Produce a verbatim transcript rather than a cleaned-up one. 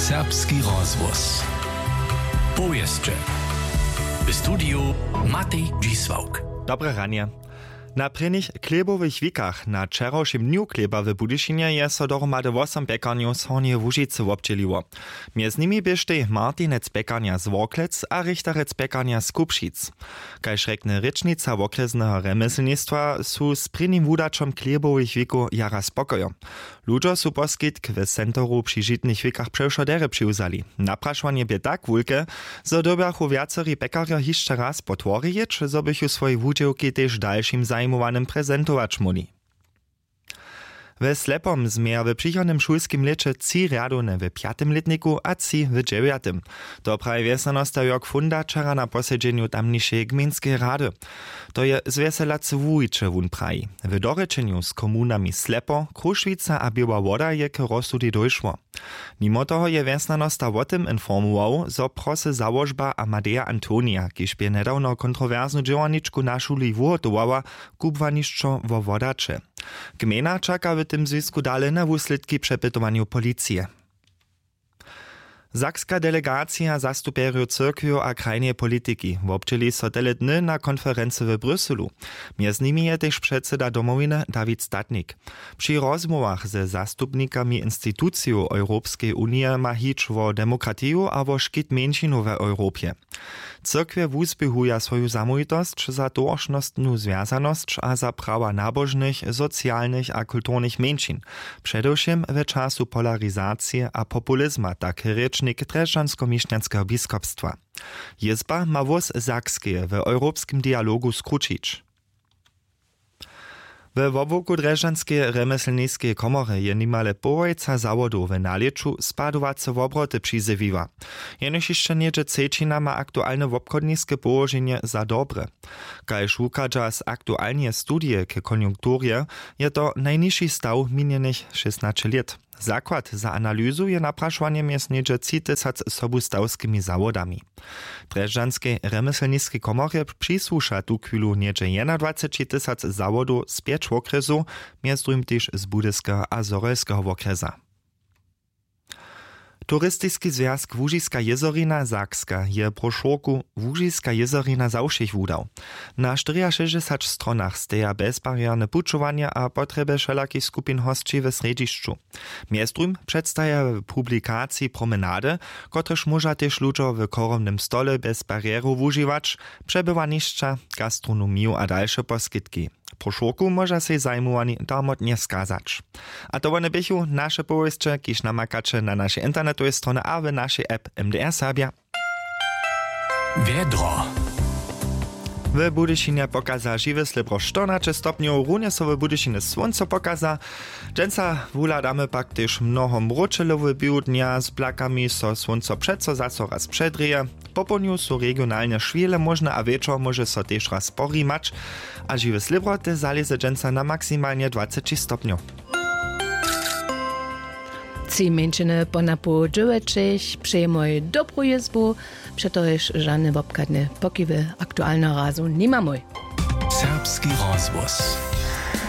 Serbski rozhłos. Powěsće. W studiju Matej Dźisławk. Dobre ranje. Na prěnich chlěbowych wikach na wčerawšim dnju chlěba w Budyšinje je so dohromady wosom pjekarnjow z Hornjeje Łužicy wobdźěliło. Mjez nimi běštej Martinec pjekarnja z Worklec a Richterec pjekarnja z Kubšic. Kaž rjekny rěčnica wokrjesneho rjemjeslnistwa, su z prěnim wudaćom chlěbowych wikow jara spokojo. Ludźo su poskitk w centru při žitnych wikach přewšo derje přiwzali. Naprašowanje bě tak wulke, zo dyrbjachu wjaceri pjekarjo hišće raz po tworje jěć, zo bychu swojej wudźěłki tež dalšim zajimowanym prezentować móhli. We Slepom změja w přichodnym šulskim lěće tři rjadowne w pjatym lětniku a tři w dźewjatym. To praji wjesnjanosta Jörg Funda wčera na posedźenju tamnišeje gmejnskeje rady. To je zwjeselacy wuwiće, wón praji. W dorěčenju z komunami Slepo, Krušwica a Běła Woda je k rozsudej dóšło. Nimo toho je wjesnjanosta wo tym informował, zo prosy załožba Amadeja Antonija, kiž bě njedawno kontrowersnu dźěłarničku na šuli wuhotowała, kubłanišćo wo wodaće. Gmejna čaka w tym zwisku dale na wuslědki přepytowanjow policije. Sakska delegacija zastupjerjow cyrkwjow a krajneje politiki wobdźěli so tele dny na konferency w Bruselu. Mjez nimi je tež předsyda Domowiny Dawid Statnik. Při rozmołwach ze zastupnikami institucijow Europskeje unije ma hić wo demokratiju a wo škit mjeńšinow w Europje. Cyrkwje wuzběhuja swoju zamołwitosć za towaršnostnu zwjazanosć a za prawa nabožnych, socialnych a kulturnych mjeńšin, předewšěm w času polarizacije a populizma, tak rěčnik drježdźanskomišnjanskeho biskopstwa. Jězba ma hłós Sakskeje w europskim dialogu skrućić. We wobłuku drježdźanskeje rjemjeslniskeje komorje je nimale połojca zawodow w nalěću spadowace wobroty přizjewiła. Jenož hišće něhdźe třećina ma aktualne wobchodniske połoženje za dobre. Kaž wuchadźa z aktualneje studije k konjunkturje, je to najnižši staw minjenych šěsnaće lět. Zakład za analyzu je naprašowanje mjez něhdźe tři tysac sobustawskimi zawodami. Drježdźanskej rjemjeslniskej komorje přisłuša tuchwilu něhdźe jednadwaceći tysac zawodow z pjeć wokrjesow, mjez druhim tež z Budyskeho a Zhorjelskeho wokrjesa. Turistiski zwjazk Łužiska jězorina Sakska je brošurku Łužiska jězorina za wšěch wudał. Na štyriašěsćdźesać stronach steja bezbarjerne pućowanja a potrjeby wšelakich skupin hosći w srjedźišću. Mjez druhim předstaja w publikaciji promenady, kotrež móža tež ludźo w chorobnym stole bjez barjerow wužiwać, přebywanišća, gastronomiju a dalše poskitki. Brošurku móža sej zajimowani darmotnje skazać. A to wone běchu naše powěsće, kiž namakaće na našej internetowej stronje a w našej app M D R Serbja. Wjedro. W Budyšinje pokaza žiwe slěbro štyrnaće stopnjow, runje so w Budyšinje słónco pokaza. Dźensa wuhladamy pak tež mnoho mróčelowe běhu dnja, z blakami so słónco přeco zaso raz předrěje. Popołdnju su regionalnje šwile móžne a wječor móže so tež raz porimać. A žiwe slěbro tež zalěze dźensa na maksimalnje dwaceći stopnjow. Tři mjeńšiny ponapoł dźěłećich přejemoj dobru jězbu, přetož žane wobchadne pokiwy aktualneho razu nimamoj. Serbski rozhłos.